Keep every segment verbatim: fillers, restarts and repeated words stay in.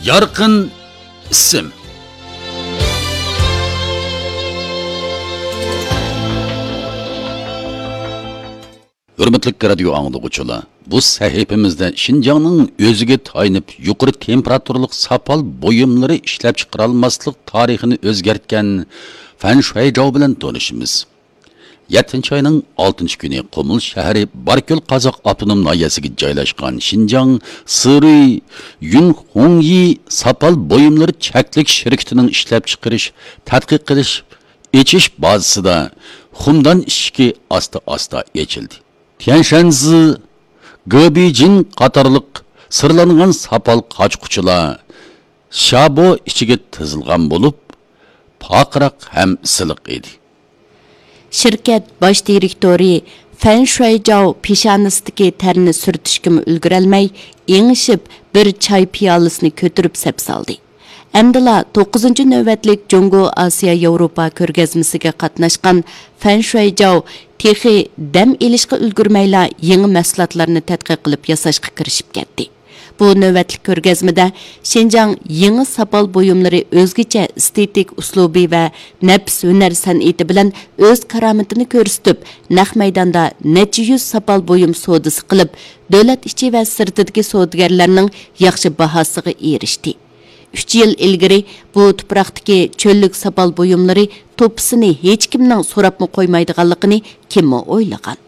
يارقىن ئىسىم. ھۆرمەتلىك رادىيو ئاڭلىغۇچىلار، بۇ سەھىپىمىزدە شىنجاڭنىڭ ئۆزىگە تايىنىپ يۇقىرى تېمپېراتۇرىلىق ساپال بۇيۇملىرى ئىشلەپچىقىرالماسلىق تارىخىنى ئۆزگەرتكەن فەن شۇەيجاۋ بىلەن تونۇشىمىز. يەتتىنچى ئاينىڭ ئالتىنچى كۈنى قۇمۇل شەھىرى باركۆل قازاق ئاپتونوم ناھىيەسىگە جايلاشقان شىنجاڭ سىرۇي يۈنخۇڭيى ساپال بۇيۇملىرى چەكلىك شىركىتىنىڭ ئىشلەپچىقىرىش، تەتقىق قىلىش، ئېچىش بازىسىدا خۇمدان ئىشىكى ئاستا-ئاستا ئېچىلدى. تيەنشەنزى، گېبىجىن قاتارلىق سىرلانغان ساپال قاچقۇچىلار شابو ئىچىگە تىزىلغان بولۇپ، پارقىراق ھەم سىلىق ئىدى. شىركەت باش دىرېكتورى فەن شۇەيجاۋ پېشانىسىدىكى تەرنى سۈرتۈشكىمۇ ئۈلگۈرەلمەي، ئېڭىشىپ، بىر چاي پىيالىسىنى كۆتۈرۈپ سەپ سالدى. ئەمدىلا توققۇزىنچى نۆۋەتلىك جۇڭگو ئاسىيا ياۋروپا كۆرگەزمىسىگە قاتناشقان فەن شۇەيجاۋ تېخى دەم ئېلىشقا ئۈلگۈرمەيلا يېڭى مەھسۇلاتلارنى تەتقىق قىلىپ ياساشقا كىرىشىپ كەتتى. بۇ نۆۋەتلىك كۆرگەزمىدە شىنجاڭ يېڭى ساپال بۇيۇملىرى ئۆزگىچە ئېستېتىك ئۇسلۇبى ۋە نەپىس ھۈنەر سەنئىتى بىلەن ئۆز كارامىتىنى كۆرسىتىپ، نەق مەيداندا نەچچە يۈز ساپال بۇيۇم سودىسى قىلىپ، دۆلەت ئىچى ۋە سىرتىدىكى سودىگەرلەرنىڭ ياخشى باھاسىغا ئېرىشتى. ئۈچ يىل ئىلگىرى بۇ تۇپراقتىكى چۆللۈك ساپال بۇيۇملىرى توپىسىنى ھېچكىمنىڭ سوراپمۇ قويمايدىغانلىقىنى كىممۇ ئويلىغان؟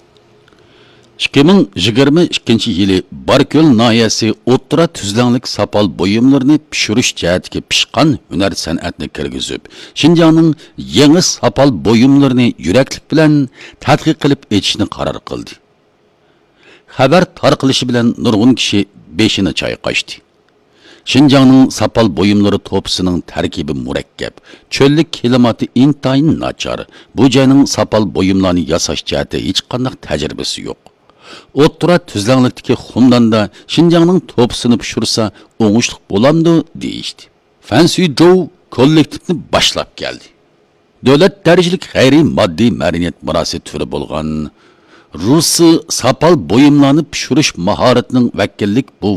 ئىككى مىڭ يىگىرمە ئىككىنچى يىلى باركۆل ناھىيەسى ئوتتۇرا تۈزلەڭلىك ساپال بۇيۇملىرىنى پىشۇرۇش جەھەتتىكى پىشقان ھۈنەر سەنئەتنى كىرگۈزۈپ، شىنجاڭنىڭ يېڭى ساپال بۇيۇملىرىنى يۈرەكلىك بىلەن تەتقىق قىلىپ ئېچىشنى قارار قىلدى. خەۋەر تارقىلىشى بىلەن نۇرغۇن كىشى بېشىنى چايقاشتى. شىنجاڭنىڭ ساپال بۇيۇملىرى توپىسىنىڭ تەركىبى مۇرەككەپ، چۆللۈك كىلىماتى ئىنتايىن ناچار، بۇ جاينىڭ ساپال بۇيۇملارنى ياساش جەھەتتە ھېچقانداق تەجرىبىسى يوق. ئوتتۇرا تۈزلەڭلىكتىكى خۇمداندا شىنجاڭنىڭ توپىسىنى پىشۇرسا ئوڭۇشلۇق بولامدۇ دېيىشتى. فەن سۈيجوۋ كوللېكتىپنى باشلاپ كەلدى. دۆلەت دەرىجىلىك غەيرىي ماددىي مەدەنىيەت مىراسى تۈرى بولغان رۇسى ساپال بۇيۇملارنى پىشۇرۇش ماھارىتىنىڭ ۋەكىللىك بۇ